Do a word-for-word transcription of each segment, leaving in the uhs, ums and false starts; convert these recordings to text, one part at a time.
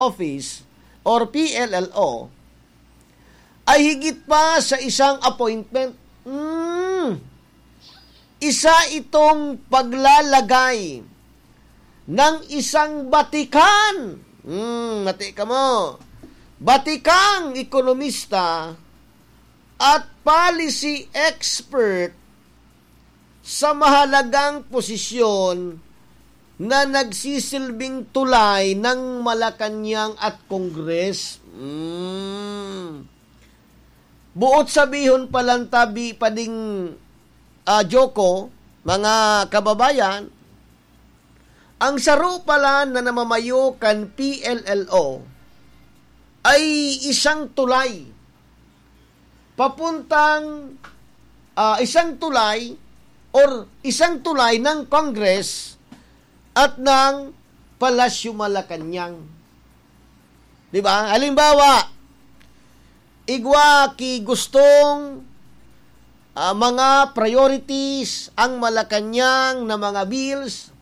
Office or P L L O ay higit pa sa isang appointment. Mm. Isa itong paglalagay ng isang batikan. Mm, mati ka mo. Batikang ekonomista at policy expert sa mahalagang posisyon na nagsisilbing tulay ng Malacañang at Congress. Mm. Buot sabihon palan tabi pa ding, ah, Joko, mga kababayan, ang saro palan na namamayo kan P L L O ay isang tulay papuntang, ah, isang tulay or isang tulay ng Congress at ng Palasyo Malacañang. Di ba? Halimbawa, igwa ki gustong, ah, mga priorities ang Malacañang na mga bills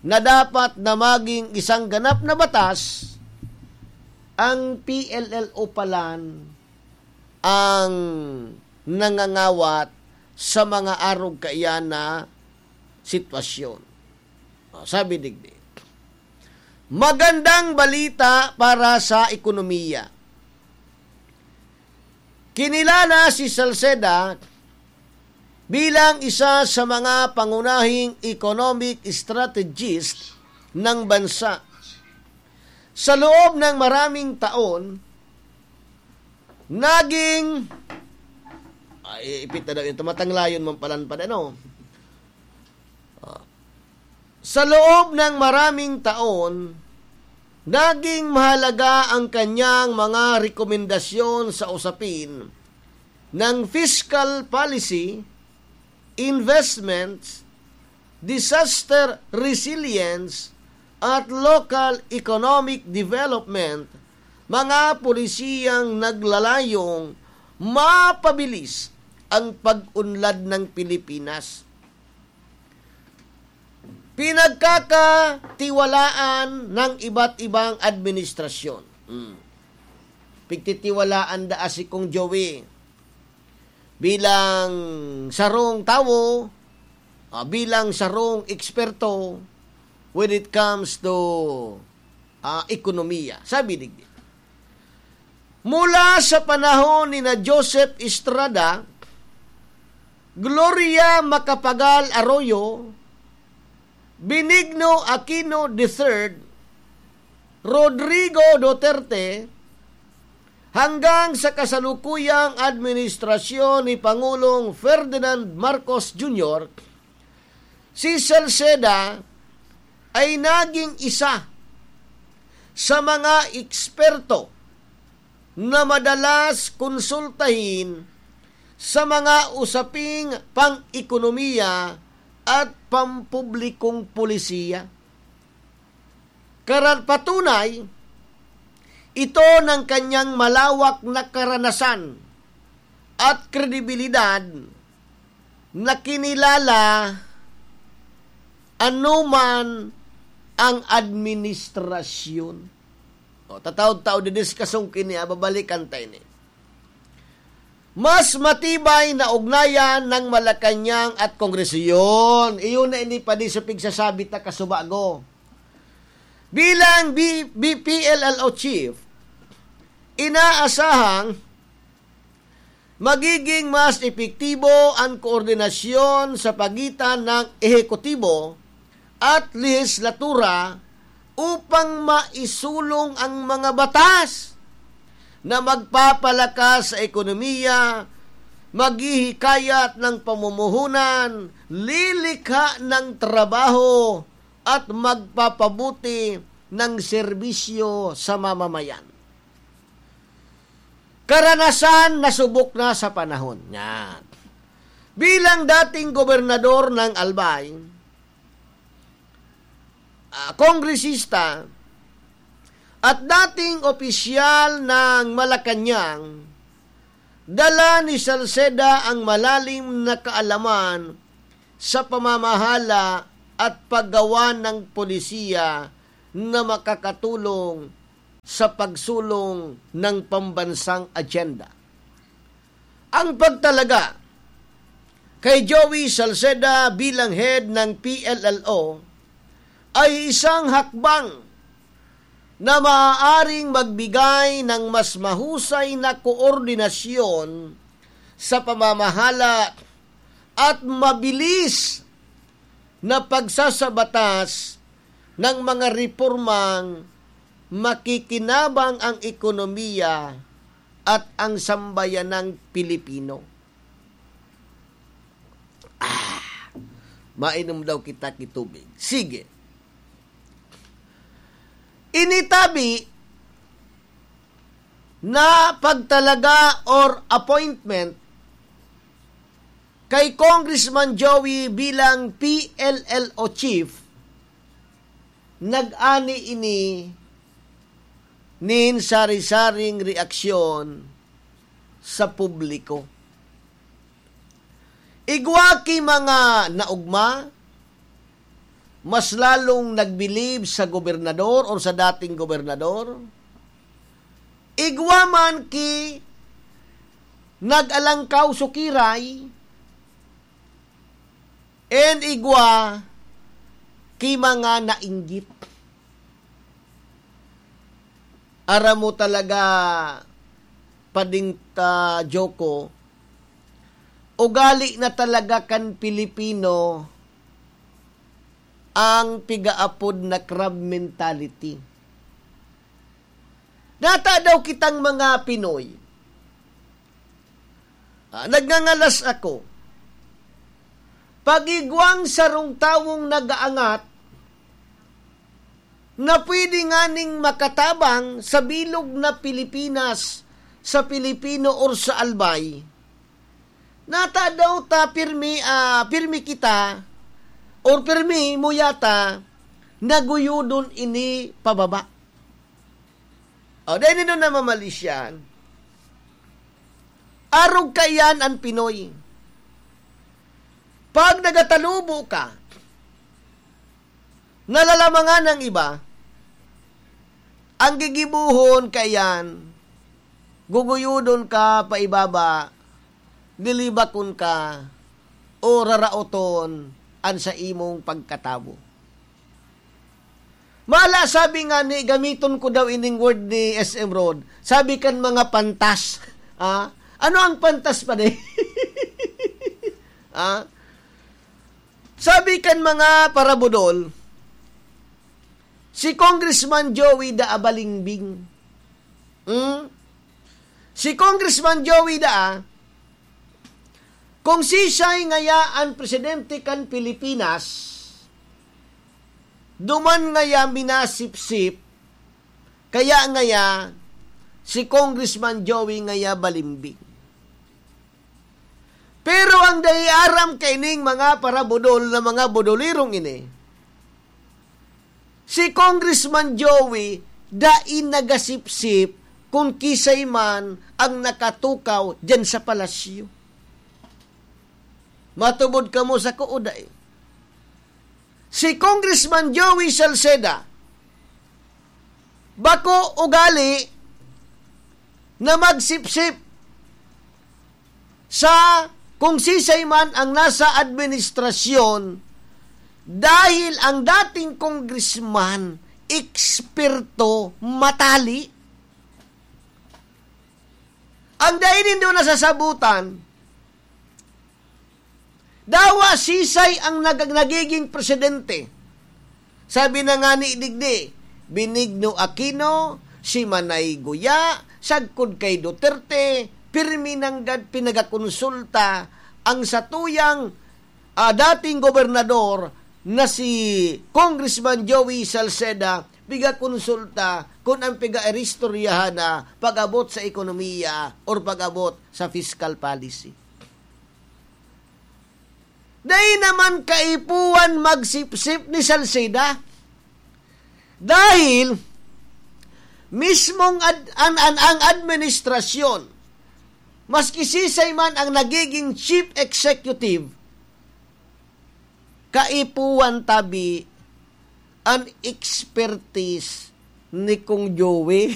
na dapat na maging isang ganap na batas, ang P L L O palan ang nangangawat sa mga arog kaiyan na sitwasyon. O, sabi digdi, magandang balita para sa ekonomiya. Kinilala si Salceda bilang isa sa mga pangunahing economic strategist ng bansa. Sa loob ng maraming taon, naging, ay, ipit na daw yun, tumatanglayon man palan pa, ano? Ah, sa loob ng maraming taon, naging mahalaga ang kanyang mga rekomendasyon sa usapin ng fiscal policy, investments, disaster resilience, at local economic development, mga polisiyang naglalayong mapabilis ang pag-unlad ng Pilipinas. Pinagkakatiwalaan ng iba't ibang administrasyon. Hmm. Pigtitiwalaan daa si Kong Joey bilang sarong tawo, ah, bilang sarong eksperto when it comes to, ah, ekonomiya. Sabi digdi, mula sa panahon ni na Joseph Estrada, Gloria Macapagal Arroyo, Benigno Aquino the third, Rodrigo Duterte, hanggang sa kasalukuyang administrasyon ni Pangulong Ferdinand Marcos Junior, si Salceda ay naging isa sa mga eksperto na madalas konsultahin sa mga usaping pang-ekonomiya at pampublikong polisiya. Karan-, patunay, ito ng kanyang malawak na karanasan at kredibilidad na kinilala anuman ang administrasyon. O, tataod-taod, didiskasyon kini, ah, babalikan ta ini. Mas matibay na ugnayan ng Malacañang at Kongreso. Yun, iyon na ini pa di sa pigsasabi ta kasubago. Bilang B-, B P L L O chief, inaasahang magiging mas epektibo ang koordinasyon sa pagitan ng ehekutibo at lehislatura upang maisulong ang mga batas na magpapalakas sa ekonomiya, maghihikayat ng pamumuhunan, lilikha ng trabaho, at magpapabuti ng serbisyo sa mamamayan. Karanasan na subok na sa panahon. Yan. Bilang dating gobernador ng Albay, ah, kongresista, at dating opisyal ng Malacañang, dala ni Salceda ang malalim na kaalaman sa pamamahala at paggawa ng polisiya na makakatulong sa pagsulong ng pambansang agenda. Ang pagtalaga kay Joey Salceda bilang head ng P L L O ay isang hakbang na maaaring magbigay ng mas mahusay na koordinasyon sa pamamahala at mabilis na pagsasabatas ng mga repormang makikinabang ang ekonomiya at ang sambayanang Pilipino. Ah, mainom daw kita ki tubig. Sige. Initabi na pagtalaga or appointment kay Congressman Joey bilang P L L O chief, nag-ani ini nin sari-saring reaksyon sa publiko. Igwa ki mga naugma, mas lalong nagbilib sa gobernador or sa dating gobernador. Igwa man ki nag-alangkaw sukiray, and igwa ki mga nainggit. Aram mo talaga, Pading ta Joko, ugali na talaga kan Pilipino ang pigaapod na crab mentality. Nata daw kitang mga Pinoy. Ah, nagngangalas ako. Pag igwang sarong tawong nag-aangat, na pwede nganing makatabang sa bilog na Pilipinas, sa Pilipino or sa Albay, nata daw ta pirmi, ah, pirmi kita or pirmi mo yata naguyodon ini pababa. O, dahil nino na mamalisyan, arog kaiyan an Pinoy. Pag nagatalubo ka, nalalamangan ng iba, ang gigibohon kaiyan, guguyodon ka paibaba, lilibakon ka, o raraoton an sa imong pagkatawo. Mala, sabi nga ni, gamiton ko daw ining word ni S M Rod, sabi kan mga pantas. Ah, ano ang pantas pa di? Ah, sabi kan mga parabudol, si Congressman Joey da abalimbing. Hmm? Si Congressman Joey da, kung sisay ngaya an presidente kan Pilipinas, duman ngaya minasipsip, kaya ngaya si Congressman Joey ngaya balimbing. Pero ang dai aram kaining mga parabudol na mga budolirong ini, si Congressman Joey dai nagasipsip kun kisay man ang nakatukaw diyan sa palasyo. Matubod kamo sa kuo dai? Si Congressman Joey Salceda, bako ugali na magsipsip sa kung sisay man ang nasa administrasyon, dahil ang dating congressman, eksperto, matali. Ang dai nindo nasasabutan, dawa sisay ang nag-, nagiging presidente. Sabi na nga ni digdi, Benigno Aquino, si Manay Guya, sagkod kay Duterte, pirmi nanggad pinagakonsulta ang satuyang, ah, dating gobernador na si Congressman Joey Salceda, pigakonsulta kun ang piga-iristoryahan na pag-abot sa ekonomiya or pag-abot sa fiscal policy. Dai naman kaipuhan magsipsip ni Salceda. Dahil mismong ad-, an, an, ang administrasyon, maski sisay man ang nagiging chief executive, kaipuhan tabi an expertise ni Kong Joey.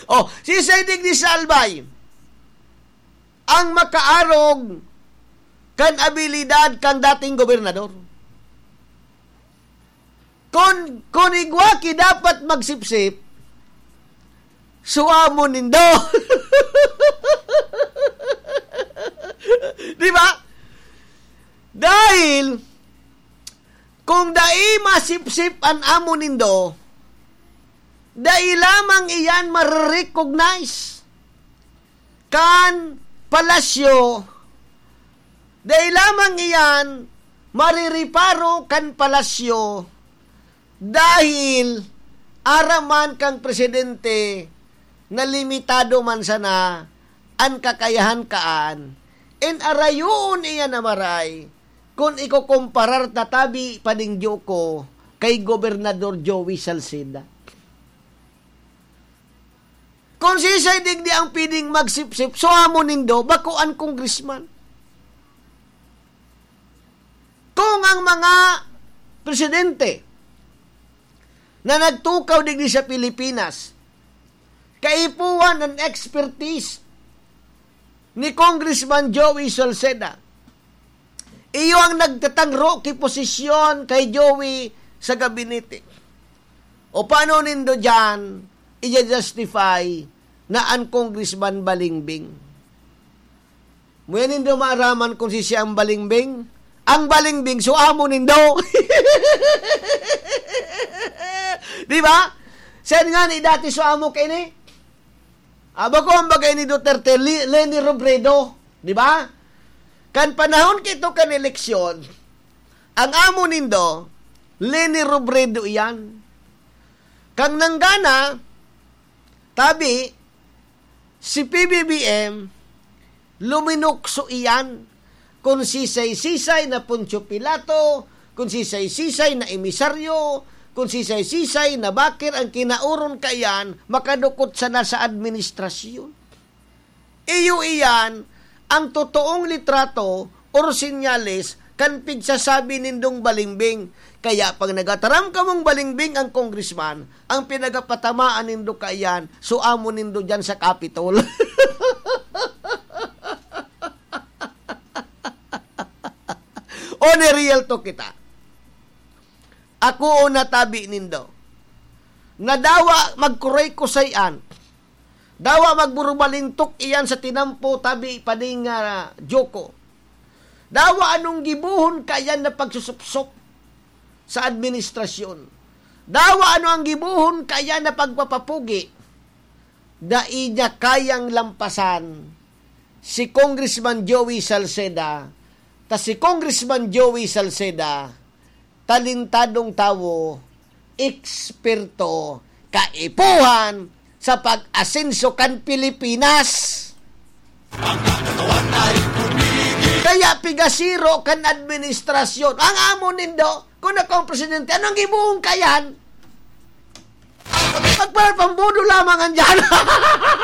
Oh, si Saidig ni Salbay ang makaarog kan abilidad kan dating gobernador. Kun, kun igwa ki dapat magsipsip, so amo nindo. Di ba? Dahil, kung dai masipsip an amo nindo, dai lamang iyan marirecognize kan palasyo, dai lamang iyan marireparo kan palasyo, dahil aram man kan presidente na limitado man sana an kakayahan kaan, in arayoon iyan na maray, kun ikokomparar ta tabi pa nin Joco kay Gobernador Joey Salceda. Kun siisay digdi ang pwedeng magsipsip, so amo nindo, bako an congressman. Kung ang mga presidente na nagtukaw digdi sa Pilipinas, kaipuhan an expertise ni Congressman Joey Salceda. Iyo ang nagtatangro ki posisyon kay Joey sa gabinete. O paano nindo diyan i-justify na an Congressman balingbing? Muya nindo maaraman kung si siya ang balingbing? Ang balingbing, so amo nindo. Di ba? Saan nga ni dati so amo kaini? Aba ko, ang bagay ni Duterte, Li-, Leni Robredo. Di ba? Kan panahon kito kan eleksyon, ang amo nindo, Leni Robredo iyan. Kang nanggana, tabi, si P B B M, luminukso iyan. Kun sisay-sisay na Poncio Pilato, kun sisay-sisay na emisaryo, kun sisay-sisay na bakir ang kinaoron kaiyan, makadukot sana sa administrasyon. Iyo iyan ang totoong litrato or senyales kan pigsasabi nindong balingbing. Kaya pag nagataram kamong balingbing ang congressman, ang pinagapatamaan nindo kaiyan, so amo nindo diyan sa Capitol. O ni real to kita. Ako o natabi nindo. Nadawa magkuray-kusayan. Dawa magburubalintok iyan sa tinampo tabi pa ning, ah, Joco. Dawa anong gibohon kaiyan na pagsusupsop sa administrasyon. Dawa ano ang gibohon kaiyan na pagpapapugi. Dai niya kayang lampasan si Congressman Joey Salceda, ta si Congressman Joey Salceda, talentadong tawo, eksperto, kaipuhan sa pag-asenso kan Pilipinas. Kaya pigasiro kan administrasyon. Ang amo nindo, kung ako ang presidente, anong gibohon kaiyan? Magpapambudo lamang andyan.